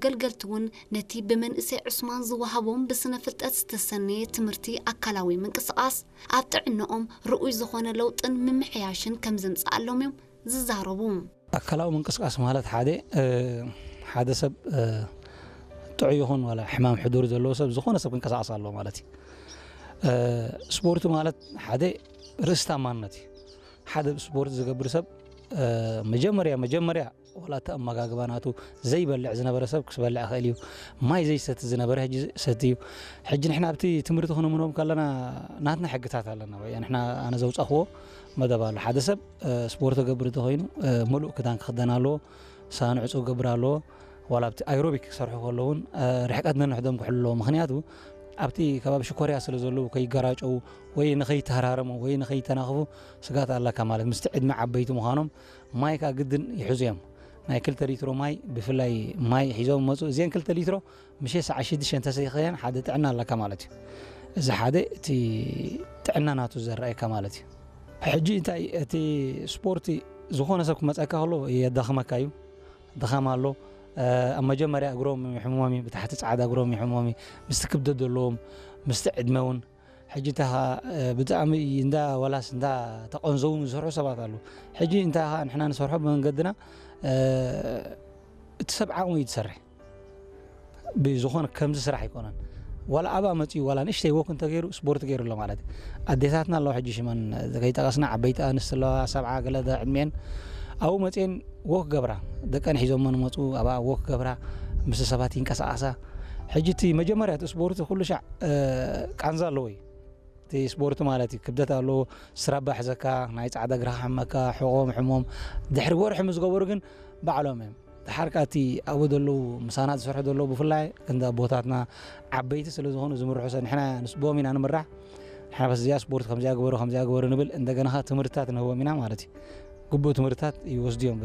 ገልገልቲ እውን ነቲ ብመንእሰይ ዑስማን ዝወሃቦም ብስነ ፍልጠት ዝተሰነየ ትምህርቲ ኣካላዊ ምንቅስቓስ ኣብ ጥዕናኦም ርኡይ ዝኾነ ለውጥን ምምሕያሽን ከም ዘምፅኣሎም እዮም ዝዛረቡ። ኣካላዊ ምንቅስቃስ ማለት ሓደ ሓደ ሰብ ጥዑይ ይኹን ዋላ ሕማም ሕዱር ዘለዎ ሰብ ዝኾነ ሰብ ክንቀሳቀስ ኣለዎ ማለት እዩ። ስፖርት ማለት ሓደ ርእስታማነት እዩ። ሓደ ስፖርት ዝገብር ሰብ መጀመርያ መጀመርያ ዋላ እቲ ኣመጋግባ ናቱ ዘይበልዕ ዝነበረ ሰብ ክስበልዕ ይኽእል እዩ። ማይ ዘይሰቲ ዝነበረ ሕጂ ሰቲ እዩ። ሕጂ ንሕና ኣብቲ ትምህርቲ ክንምህሮም ከለና ናትና ሕግታት ኣለና። ወይ ንሕና ኣነ ዘውፃኽዎ መደብ ኣሎ። ሓደ ሰብ ስፖርት ገብር እንተኮይኑ ምሉእ ክዳን ክኽደን ኣለዎ። ሳንዕፁ ክገብር ኣለዎ። ዋላ ኣብቲ ኣይሮቢክ ክሰርሑ ከለውን ርሕቀት ነንሕዶም ክሕሉ ኣለዎ። ምክንያቱ ኣብቲ ከባቢ ሽኮርያ ስለ ዘለዉ ከይገራጨው ወይ ንኸይተሃራረሙ ወይ ንኸይተናኽፉ ስጋት ኣለካ ማለት ምስቲ ዕድመ ዓበይቲ ምዃኖም ማይ ከዓ ግድን ይሕዙ እዮም። ናይ ክልተ ሊትሮ ማይ ብፍላይ ማይ ሒዞም መፁ። እዚአን ክልተ ሊትሮ ምሸ ሰዓ ሽዱሽተ እንተሰይኸየን ሓደ ጥዕና ኣለካ ማለት እዩ። እዚ ሓደ እቲ ጥዕና ናቱ ዘረኣየካ ማለት እዩ። ሕጂ እንታይ እቲ ስፖርቲ ዝኾነ ሰብ ክመፀካ ከሎ የዳኽመካ እዩ። ድኻም ኣሎ። ኣብ መጀመርያ እግሮም ይሕሞም እዩ፣ ብታሕቲ ፃዕዳ እግሮም ይሕሞም እዩ። ምስቲ ክብደት ዘለዎም ምስቲ ዕድመ እውን ሕጂ እንታይ ብጣዕሚ እንዳ ዋላስ እንዳ ተቐንዘው ዝሰርሑ ሰባት ኣሉ። ሕጂ እንታይ ንሕና ንሰርሖ ብመንገድና እቲ ሰብ ዓቕሙ እዩ ዝሰርሕ። ብዝኾነ ከምዚ ስራሕ ኣይኮነን። ዋላ ኣብኣ መፂኡ ዋላ ንእሽተይ ወክ እንተገይሩ ስፖርት ገይሩ ኣሎ ማለት እዩ። ኣዴታትና ኣለዋ ሕጂ ሽመን ከይጠቐስና ዓበይቲ ኣንስቲ ኣለዋ ሰብዓ ገለ ዕድሜን ኣብኡ መፅኤን ወክ ገብራ ደቀን ሒዞሞ ንመፁ ኣብኣ ወክ ገብራ ምስ ሰባት ይንቀሳቐሳ። ሕጂ እቲ መጀመርያ እቲ ስፖርት ኩሉ ሻዕ ቃንዛ ኣለዎ እዩ። እቲ ስፖርት ማለት እዩ ክብደት ኣለዎ። ስራባ ሕዘካ ናይ ፃዕዳ እግርኻ ሓመካ ሕቆም ሕሞም ድሕሪ ወርሒ ምስ ገበሩ ግን ባዕሎም እዮም። ድሓር ከዓ እቲ ኣብኡ ዘለዉ ምሳና ዝሰርሑ ዘለዉ ብፍላይ ክንዲ ኣቦታትና ዓበይቲ ስለ ዝኾኑ ዝምርሑ ሰብ ንሕና ንስቦም ኢና ንምራሕ። ንሕና በስ እዚኣ ስፖርት ከምዚኣ ግበሩ ከምዚኣ ግበሩ ንብል እንደገና ከዓ ትምህርትታት ንህቦም ኢና ማለት እዩ። ግቡእ ትምህርትታት ይወስዱ እዮም።